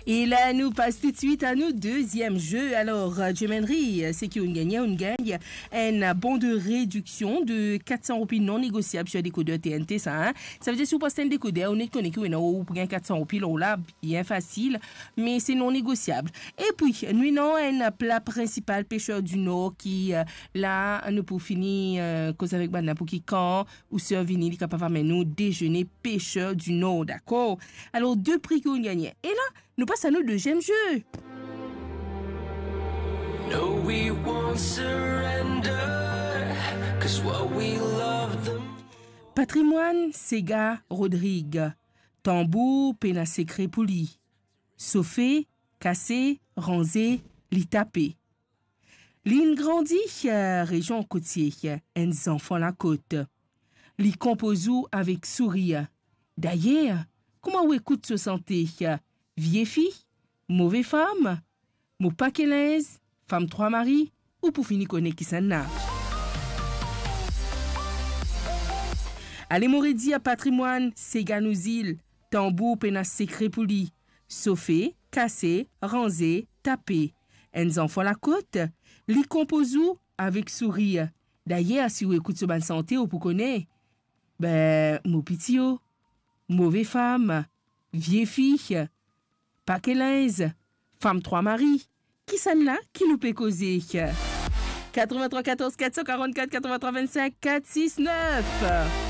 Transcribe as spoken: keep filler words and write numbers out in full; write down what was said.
E la, nou pas toutswit a nou deziem ze. Alor, euh, Jim Henry, euh, seki ou'nn gagne, ou'nn gagn enn bon de rediksion de kat san roupi non negosiab sir dekoder T N T sa, hein. Savedir, si ou pas enn dekoder, ou net kone ki ou ena, ou pou gagn kat san roupi, lor la, bien fasil, me se non negosiab. Epi, nou ena enn pla prinsipal Pêcheurs du Nord ki, euh, la, nou pou fini, euh, koz avek bann la pou ki kan ou sir vini, li kapav amenn nou dezene Pêcheurs du Nord, dakor? Alor, de pri ki ou'nn gagne. E la, nou pas a nou deziem ze. No, we won't surrender, 'cause what we love the Patrimoine Sega Rodrigue. Tanbour pena sekre pou li. Sofe, kase, ranze, li tape. Li'nn grandi, eh, rezion kotie, eh, enn zanfan lakot. Li konpoz ou avek sourir. Dayer, kouma ou ekout so sante, eh, vie fi, move fam, mo pake linz, fam trwa mari, ou pou fini kone kisannla. Ale, mo redir, Patrimoine Sega nou zil, tanbour pena sekre pou li. Sofe, kase, ranze, tape. Enn zanfan lakot, li konpoz ou avek sourir. Dayer, si ou ekout so bann sante, ou pou kone. Be, mo piti o, move fam, vie fi, pake linz, fam trwa mari. Kisannla ki nou pe koze? Katrevintrwa katorz kat san karannkat katrevintrwa vennsenk kat sis nef.